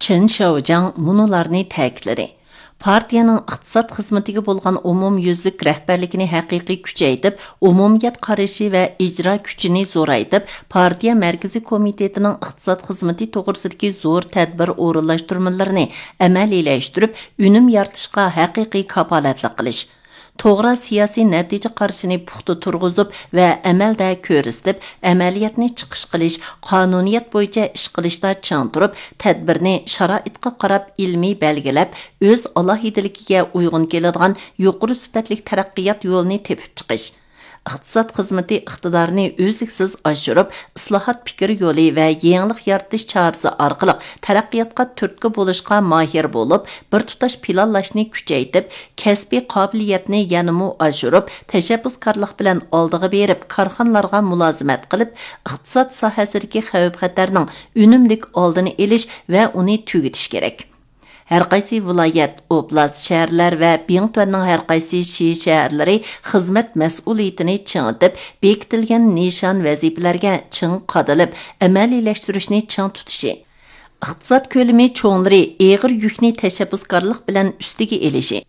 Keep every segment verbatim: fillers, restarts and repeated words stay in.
چېن شياۋجياڭ مۇنۇلارنى تەكىتلىدى: پارتىيەنىڭ ئىقتىساد خىزمىتىگە بولغان ئومۇميۈزلۈك رەھبەرلىكىنى ھەقىقىي كۈچەيتىپ، ئومۇمىيەت قارىشى ۋە ئىجرا كۈچىنى زورايتىپ، پارتىيە مەركىزىي كومىتېتىنىڭ ئىقتىساد خىزمىتى توغرىسىدىكى زور تەدبىر ئورۇنلاشتۇرمىلىرىنى ئەمەلىيلەشتۈرۈپ، ئۈنۈم يارىتىشقا ھەقىقىي كاپالەتلىك قىلىش، توغرا سىياسىي نەتىجە قارىشىنى پۇختا تۇرغۇزۇپ ۋە ئەمەلدە كۆرسىتىپ، ئەمەلىيەتنى چىقىش قىلىش، قانۇنىيەت بويىچە ئىش قىلىشتا چىڭ تۇرۇپ، تەدبىرنى شارائىتقا قاراپ ئىلمىي بەلگىلەپ، ئۆز ئالاھىدىلىكىگە ئۇيغۇن كېلىدىغان يۇقىرى سۈپەتلىك تەرەققىيات يولىنى تېپىپ چىقىش. ئىقتىساد خىزمىتى ئىقتىدارىنى ئۈزلۈكسىز ئاشۇرۇپ، ئىسلاھات پىكىر يولى ۋە يېڭىلىق يارىتىش چارىسى ئارقىلىق تەرەققىياتقا تۈرتكە بولۇشقا ماھىر بولۇپ، بىر تۇتاش پىلانلاشنى كۈچەيتىپ، كەسپىي قابىلىيەتنى يەنىمۇ ئاشۇرۇپ، تەشەببۇسكارلىق بىلەن ئالدىغا بېرىپ، كارخانىلارغا مۇلازىمەت قىلىپ، ئىقتىساد ساھەسىدىكى خەۋپ-خەتەرنىڭ ئۈنۈملۈك ئالدىنى ئېلىش ۋە ئۇنى تۈگىتىش كېرەك. ھەرقايسى ۋىلايەت، ئوبلاست، شەھەرلەر ۋە بىڭتۈەننىڭ ھەرقايسى شى شەھەرلىرى خىزمەت مەسئۇلىيىتىنى چىڭىتىپ، بېكىتىلگەن نىشان ۋەزىپىلەرگە چىڭ قادىلىپ، ئەمەلىيلەشتۈرۈشنى چىڭ تۇتۇشى، ئىقتىساد كۆلىمى چوڭلىرى ئېغىر يۈكنى تەشەببۇسكارلىق بىلەن ئۈستىگە ئېلىشى،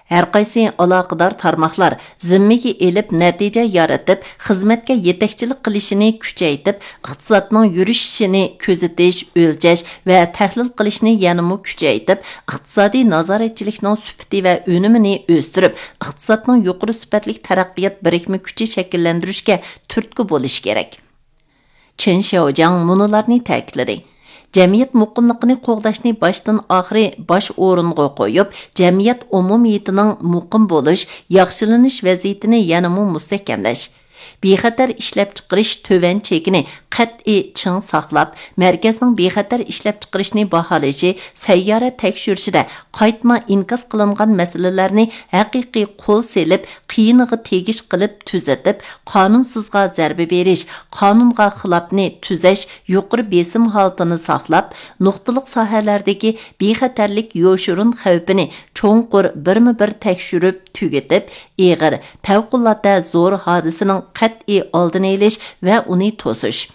ھەرقايسى ئالاقىدار تارماقلار زىممىگە ئېلىپ، نەتىجە يارىتىپ، خىزمەتكە يېتەكچىلىك قىلىشىنى كۈچەيتىپ، ئىقتىسادنىڭ يۈرۈشۈشىنى كۆزىتىش، ئۆلچەش ۋە تەھلىل قىلىشنى يەنىمۇ كۈچەيتىپ، ئىقتىسادىي نازارەتچىلىكنىڭ سۈپىتى ۋە ئۈنۈمىنى ئۆستۈرۈپ، ئىقتىسادنىڭ يۇقىرى سۈپەتلىك تەرەققىيات بىرىكمە كۈچى شەكىللەندۈرۈشكە تۈرتكە بولۇشى كېرەك. چېن شياۋجياڭ مۇنۇلارنى تەكىتلىدى: جەمئىيەت مۇقىملىقىنى قوغداشنى باشتىن ئاخىرى باش ئورۇنغا قويۇپ، جەمئىيەت ئومۇمىيىتىنىڭ مۇقىم بولۇش، ياخشىلىنىش ۋەزىيىتىنى يەنىمۇ مۇستەھكەملەش، بىخەتەر ئىشلەپچىقىرىش تۆۋەن چېكىنى قەتئىي چىڭ ساقلاپ، مەركەزنىڭ بىخەتەر ئىشلەپچىقىرىشنى باھالىشى، سەييارە تەكشۈرۈشىدە قايتما ئىنكاس قىلىنغان مەسىلىلەرنى ھەقىقىي قول سېلىپ، قىيىنىغا تېگىش قىلىپ تۈزىتىپ، قانۇنسىزغا زەربە بېرىش، قانۇنغا خىلاپنى تۈزەش يۇقىرى بېسىم ھالىتىنى ساقلاپ، نۇقتىلىق ساھەلەردىكى بىخەتەرلىك يوشۇرۇن خەۋپىنى چوڭقۇر بىرمۇ بىر تەكشۈرۈپ تۈگىتىپ، ئېغىر، پەۋقۇلئاددە زور ھادىسىنىڭ قەتئىي ئالدىنى ئېلىش ۋە ئۇنى توسۇش،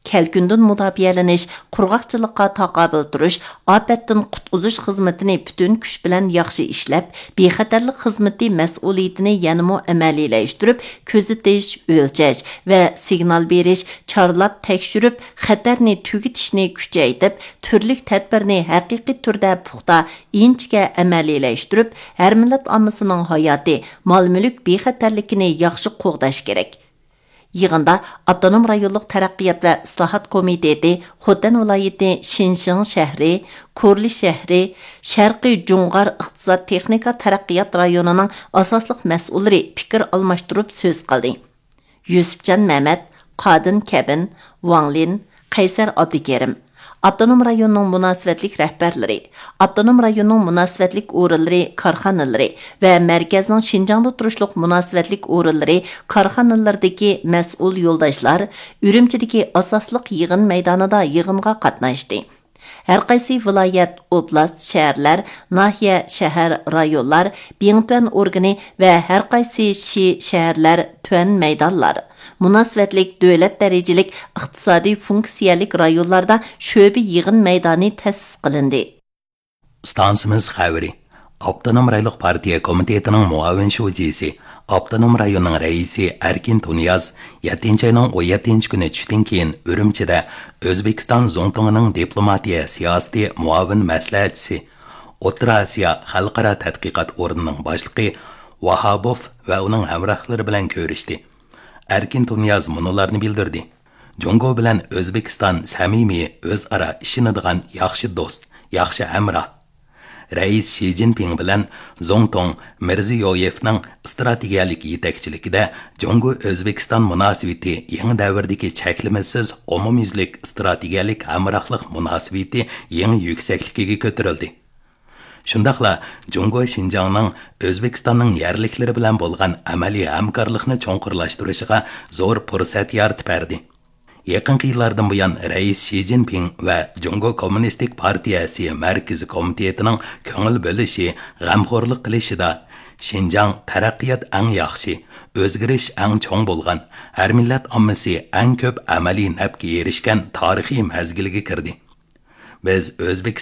كەلكۈندىن مۇداپىئەلىنىش، قۇرغاقچىلىققا تاقابىل تۇرۇش، ئاپەتتىن قۇتقۇزۇش خىزمىتىنى پۈتۈن كۈچ بىلەن ياخشى ئىشلەپ، بىخەتەرلىك خىزمىتى مەسئۇلىيىتىنى يەنىمۇ ئەمەلىيلەشتۈرۈپ، كۆزىتىش، ئۆلچەش ۋە سىگنال بېرىش، چارلاپ تەكشۈرۈپ، خەتەرنى تۈگىتىشنى كۈچەيتىپ، تۈرلۈك تەدبىرنى ھەقىقىي تۈردە پۇختا، ئىنچىكە ئەمەلىيلەشتۈرۈپ، ھەر مىللەت ئاممىسىنىڭ ھاياتى، مال-مۈلۈك بىخەتەرلىكىنى ياخشى قوغداش كېرەك. يىغىندا ئاپتونوم رايونلۇق تەرەققىيات ۋە ئىسلاھات كومىتېتى، خوتەن ۋىلايىتى شىنجېڭ شەھىرى، كورلى شەھىرى، شەرقىي جۇڭغار ئىقتىساد تېخنىكا تەرەققىيات رايونىنىڭ ئاساسلىق مەسئۇللىرى پىكىر ئالماشتۇرۇپ سۆز قىلدى. يۈسۈپجان مەمەت، قادىن كەبىن، ۋاڭ لىن، قەيسەر ئابدۇكېرىم، ئاپتونوم رايوننىڭ مۇناسىۋەتلىك رەھبەرلىرى، ئاپتونوم رايوننىڭ مۇناسىۋەتلىك ئورۇنلىرى، كارخانىلىرى ۋە مەركەزنىڭ شىنجاڭدا تۇرۇشلۇق مۇناسىۋەتلىك ئورۇنلىرى، كارخانىلىرىدىكى مەسئۇل يولداشلار ئۈرۈمچىدىكى ئاساسلىق يىغىن مەيدانىدا يىغىنغا قاتناشتى. ھەرقايسى ۋىلايەت، ئوبلاست، شەھەرلەر، ناھىيە، شەھەر، رايونلار، بىڭتۈەن ئورگىنى ۋە ھەرقايسى شى، شەھەرلەر، تۈەن مەيدانلار، مۇناسىۋەتلىك دۆلەت دەرىجىلىك ئىقتىسادىي فۇنكسىيەلىك رايونلاردا شۆبە يىغىن مەيدانى تەسىس قىلىندى. ئىستانسىمىز خەۋىرى. ئاپتونوم رايونلۇق پارتىيە كومىتېتىنىڭ مۇئاۋىن شۇجىسى، ئاپتونوم رايوننىڭ رەئىسى ئەركىن تۇنىياز يەتتىنچى ئاينىڭ ئون يەتتىنچى كۈنى چۈشتىن كېيىن ئۈرۈمچىدە ئۆزبېكىستان زۇڭتۇڭىنىڭ دىپلوماتىيە سىياسىتى مۇئاۋىن مەسلىھەتچىسى، ئوتتۇرا ئاسىيا خەلقئارا تەتقىقات ئورنىنىڭ باشلىقى ۋاھابوف ۋە ئۇنىڭ ھەمراھلىرى بىلەن كۆرۈشتى. ئەركىن تۇنىياز مۇنۇلارنى بىلدۈردى: جۇڭگو بىلەن ئۆزبېكىستان سەمىمىي، ئۆزئارا ئىشىنىدىغان ياخشى دوست، ياخشى ھەمراھ. رەئىس شى جىنپىڭ بىلەن زۇڭتۇڭ مىرزىيويېۋنىڭ ئىستراتېگىيەلىك يېتەكچىلىكىدە جۇڭگو ئۆزبېكىستان مۇناسىۋىتى يېڭى دەۋردىكى چەكلىمىسىز ئومۇميۈزلۈك ئىستراتېگىيەلىك ھەمراھلىق مۇناسىۋىتى يېڭى يۈكسەكلىكىگە كۆتۈرۈلدى. شۇنداقلا جۇڭگو شىنجاڭنىڭ ئۆزبېكىستاننىڭ يەرلىكلىرى بىلەن بولغان ئەمەلىي ھەمكارلىقنى چوڭقۇرلاشتۇرۇشىغا زور پۇرسەت يارىتىپ بەردى. يېقىنقى يىللاردىن بۇيان، رەئىس شى جىنپىڭ ۋە جۇڭگو كوممۇنىستىك پارتىيەسى مەركىزىي كومىتېتىنىڭ كۆڭۈل بۆلۈشى، غەمخورلۇق قىلىشىدا شىنجاڭ تەرەققىيات ئەڭ ياخشى، ئۆزگىرىش ئەڭ چوڭ بولغان، ھەر مىللەت ئاممىسى ئەڭ كۆپ ئەمەلىي نەپكە ئېرىشكەن تارىخىي مەزگىلگە كىردى. بىز ئۆزبېكىستان